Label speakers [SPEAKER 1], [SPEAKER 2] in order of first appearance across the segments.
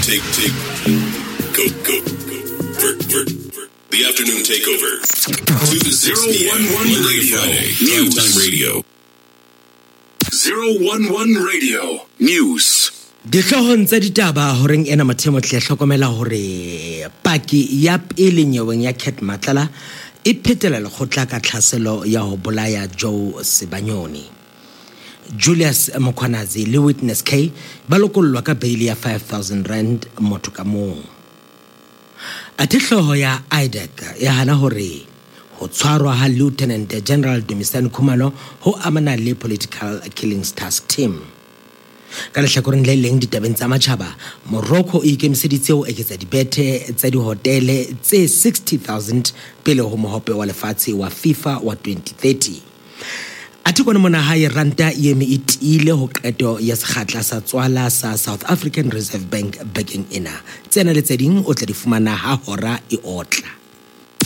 [SPEAKER 1] Take, take, go, go, ver, ver, ver. The afternoon takeover. 2 to 6 p.m. Monday to Friday. News. Time Radio. 011 Radio. News.
[SPEAKER 2] Dihloohong tsa ditaba horeng ena Mathemo tle hlokomela hore paki ya pele nyeweng ya Cat Matlala e phetela lekgotla ka tlhaselo ya ho bolaya Joe Sebanyoni. Julius Mkhwanazi le Witness K ba lokollwa ka beili ya 5000 rand motho ka mong. Athe hlooho ya IDAC e hana hore ho tshwarwa ha Lieutenant General Dumisani Khumalo ho amana le Political Killings Task Team. Ka lehlakoreng le leng ditabeng tsa matjhaba, Morocco e ikemiseditse ho eketsa dibethe tsa dihotele tse 60,000 pele ho Mohope wa Lefatshe wa FIFA wa 2030. Athe kwano mona hae ranta e eme e tiile ho qeto ya sekgatla sa tswala sa South African Reserve Bank bekeng ena. Tsena le tse ding o tla di fumana ha hora e otla.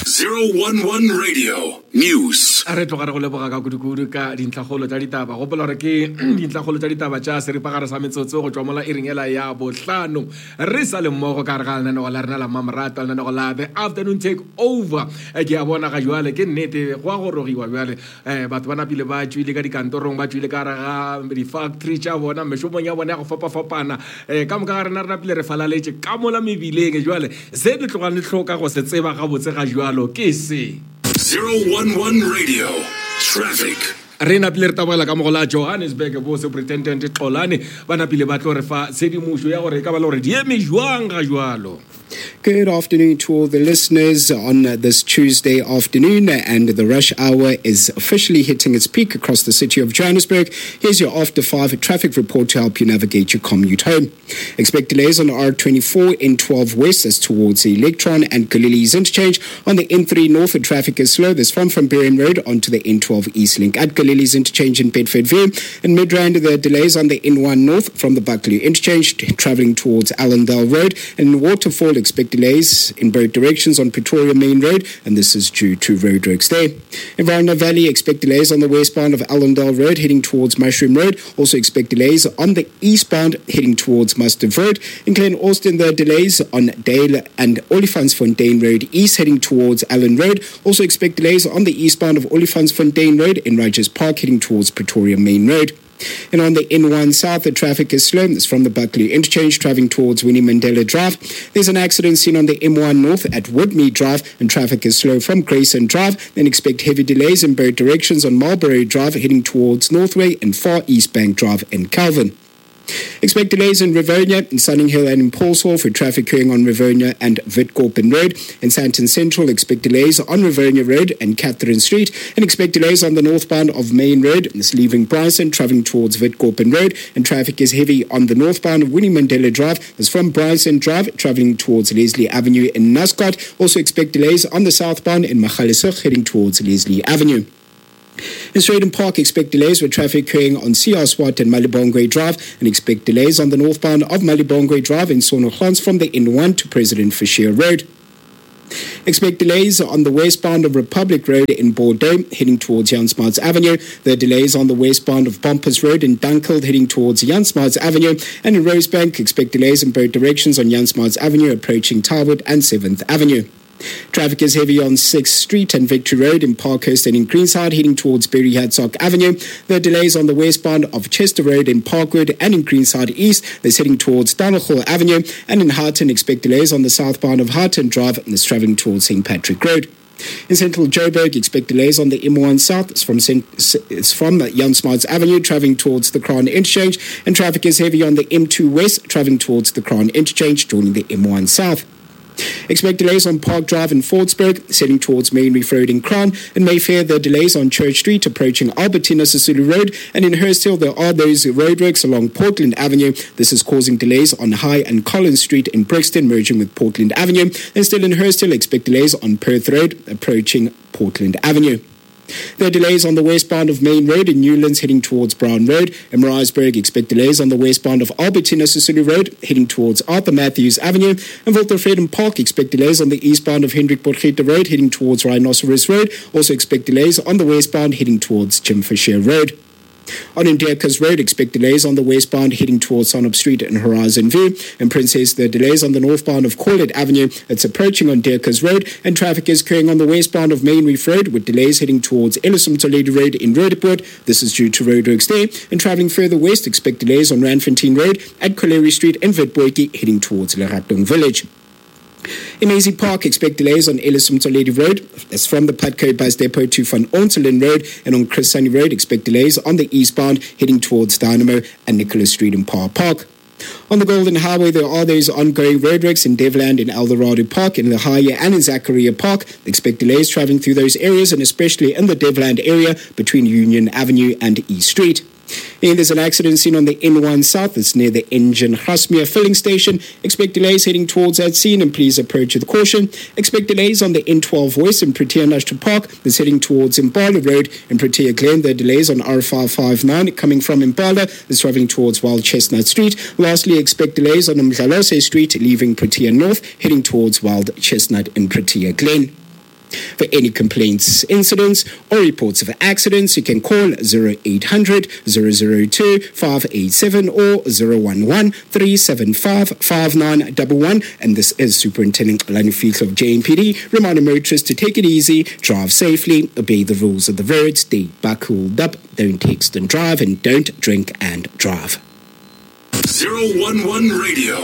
[SPEAKER 1] 011 Radio News.
[SPEAKER 3] Re tloga re go leboga ka kudukudu ka dintlhakgolo tša ditaba. Gopola gore ke dintlhakgolo tša ditaba tša seripagare sa metsotso go tšwa mola iring ela ya bohlano. Re sa le mmogo ka gare ga lenanego la rena la mmamoratwa, lenanego la The Afternoon Take Over. Ke a bona ga jwale ke nnete go a gorogiwa bjale. um batho ba napile ba tšwile ka dikantorong ba tšwile ka gare ga di-factory tša bona mešomong ya bona ya go fapafapana um ka moka ga rena re napile re falaletše ka mola mebileng jwale se le tlogang le hloka go se tseba gabotse ga jwalo ke se
[SPEAKER 1] 011 Radio Traffic.
[SPEAKER 3] Re napile re tabogela ka mogo la Johannesburg bo Superintendent Xolane ba napile ba tlo re fa tshedimošo ya gore e ka ba le gore di eme jwang ga jwalo.
[SPEAKER 4] Good afternoon to all the listeners on this Tuesday afternoon, and the rush hour is officially hitting its peak across the city of Johannesburg. Here's your after 5 traffic report to help you navigate your commute home. Expect delays on R24 N12 West as towards the Electron and Galilee's interchange. On the N3 North, the traffic is slow. This from from Bering Road onto the N12 East Link at Galilee's interchange in Bedford View. In Midrand, there are delays on the N1 North from the Buccleuch interchange traveling towards Allendale Road. And in Waterfall, expect delays in both directions on Pretoria Main Road, and this is due to roadworks there. In Varna Valley, expect delays on the westbound of Allendale Road heading towards Mushroom Road. Also expect delays on the eastbound heading towards Mustard Road. In Glen Austin, there are delays on Dale and Olifantsfontein Road East heading towards Allen Road. Also expect delays on the eastbound of Olifantsfontein Road in Rogers Park heading towards Pretoria Main Road. And on the N1 South, the traffic is slow. It's from the Buccleuch Interchange, traveling towards Winnie Mandela Drive. There's an accident seen on the M1 North at Woodmead Drive, and traffic is slow from Grayson Drive. Then expect heavy delays in both directions on Marlborough Drive, heading towards Northway and Far East Bank Drive in Calvin. Expect delays in Rivonia, in Sunninghill and in Paulshof for traffic queuing on Rivonia and Witkoppen Road. In Sandton Central, expect delays on Rivonia Road and Catherine Street. And expect delays on the northbound of Main Road, this leaving Bryson, travelling towards Witkoppen Road. And traffic is heavy on the northbound of Winnie Mandela Drive. This from Bryson Drive, travelling towards Leslie Avenue in Nascot. Also expect delays on the southbound in Magaliesburg, heading towards Leslie Avenue. In Strijdom Park, expect delays with traffic queuing on CR Swart and Malibongwe Drive, and expect delays on the northbound of Malibongwe Drive in Sondergrond from the N1 to President Fouché Road. Expect delays on the westbound of Republic Road in Bordeaux, heading towards Jan Smuts Avenue. There are delays on the westbound of Bompas Road in Dunkeld, heading towards Jan Smuts Avenue. And in Rosebank, expect delays in both directions on Jan Smuts Avenue, approaching Tarwood and 7th Avenue. Traffic is heavy on 6th Street and Victory Road in Parkhurst and in Greenside, heading towards Berry Hertzog Avenue. There are delays on the westbound of Chester Road in Parkwood and in Greenside East. That's heading towards Donald Avenue. And in Houghton, expect delays on the southbound of Houghton Drive and it's traveling towards St. Patrick Road. In central Joburg, expect delays on the M1 South. It's from, it's from Jan Smuts Avenue, traveling towards the Crown Interchange. And traffic is heavy on the M2 West, traveling towards the Crown Interchange, joining the M1 South. Expect delays on Park Drive in Fordsburg, heading towards Main Reef Road in Crown. In Mayfair, there are delays on Church Street approaching Albertina Sisulu Road. And in Hurst Hill, there are those roadworks along Portland Avenue. This is causing delays on High and Collins Street in Brixton, merging with Portland Avenue. And still in Hurst Hill, expect delays on Perth Road approaching Portland Avenue. There are delays on the westbound of Main Road in Newlands heading towards Brown Road. In Maritzburg, expect delays on the westbound of Albertina Sisulu Road heading towards Arthur Matthews Avenue. And Walter Freedom Park, expect delays on the eastbound of Hendrik Potgieter Road heading towards Rhinoceros Road. Also expect delays on the westbound heading towards Jim Fisher Road. On Indiakas Road, expect delays on the westbound heading towards Sonop Street and Horizon View. And Princess, the delays on the northbound of Corlett Avenue. It's approaching on Deckers Road, and traffic is occurring on the westbound of Main Reef Road with delays heading towards Ellison Toledo Road in Roodepoort. This is due to roadworks there. And traveling further west, expect delays on Randfontein Road at Colliery Street and Witboetjie heading towards Leratong Village. In Maisie Park, expect delays on Ellis Mtoledi Road. That's from the Putco Bus Depot to Van Ontelen Road. And on Chris Hani Road, expect delays on the eastbound heading towards Dynamo and Nicholas Street in Park Park. On the Golden Highway, there are those ongoing roadworks in Devland, in Eldorado Park, in Lahaya, and in Zachariah Park. Expect delays traveling through those areas and especially in the Devland area between Union Avenue and E Street. And there's an accident seen on the N1 South. It's near the Engine Grasmere filling station. Expect delays heading towards that scene and please approach with caution. Expect delays on the N12 West in Protea National Park. That's heading towards Impala Road in Protea Glen. There are delays on R559 coming from Impala. That's traveling towards Wild Chestnut Street. Lastly, expect delays on Mdlalose Street leaving Protea North, heading towards Wild Chestnut in Protea Glen. For any complaints, incidents, or reports of accidents, you can call 0800 002 587 or 011 375 5911. And this is Superintendent Lani Fiedler of JMPD, reminding motorists to take it easy, drive safely, obey the rules of the road, stay buckled up, don't text and drive, and don't drink and drive.
[SPEAKER 1] 011 Radio.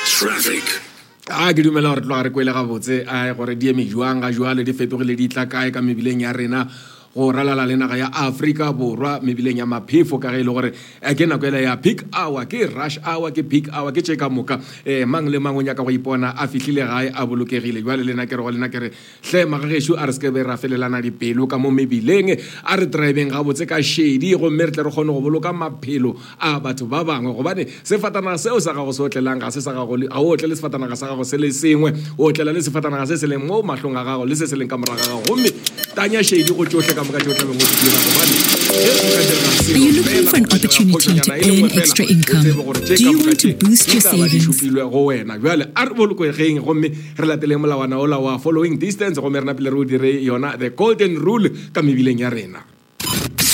[SPEAKER 1] Traffic.
[SPEAKER 3] A ke dumela gore tloga re kwele gabotse a gore di eme jwang ga jwale di fetogile di tla kae ka mebileng ya rena go ralala le naga ya Afrika Borwa mebileng ya maphefo ka ge e le gore eh, ke nako ela ya peak hour ke rush hour ke peak hour ke tše ka moka um mang le mang o nyaka go ipona a fihlile gae a bolokegile jwale le na ke re go lena ke re hle magagešo a re se ke be ra felelana dipelo ka mo mebileng a re driveng gabotse ka šedi gomme re tle re kgone go boloka maphelo a batho ba bangwe gobane sefatanaga seo sa gago se otlelang ga se sa gago ga o otlele sefatanaga sa gago se le sengwe o otlela le sefatanaga se se leng mo mahlong a gago le se se leng ka morago ga gago gomme tanya šedi go tšohle ka moka tše o tlabeng o di dira gobane ge go ka direga
[SPEAKER 5] Are you
[SPEAKER 3] selo
[SPEAKER 5] looking
[SPEAKER 3] fela
[SPEAKER 5] for an
[SPEAKER 3] go ka direga
[SPEAKER 5] opportunity to
[SPEAKER 3] phošonyana e le
[SPEAKER 5] earn
[SPEAKER 3] nngwe fela
[SPEAKER 5] extra
[SPEAKER 3] o tsebe
[SPEAKER 5] income?
[SPEAKER 3] gore tše
[SPEAKER 5] Do
[SPEAKER 3] ka
[SPEAKER 5] you
[SPEAKER 3] moka
[SPEAKER 5] want to
[SPEAKER 3] tše
[SPEAKER 5] boost
[SPEAKER 3] di
[SPEAKER 5] your
[SPEAKER 3] tla ba di
[SPEAKER 5] savings?
[SPEAKER 3] šupilwe go wena bjale a re bolokegeng gomme re lateleng molawana ola wa following distance gomme re napile re o dire yona the golden rule ka mebileng ya rena.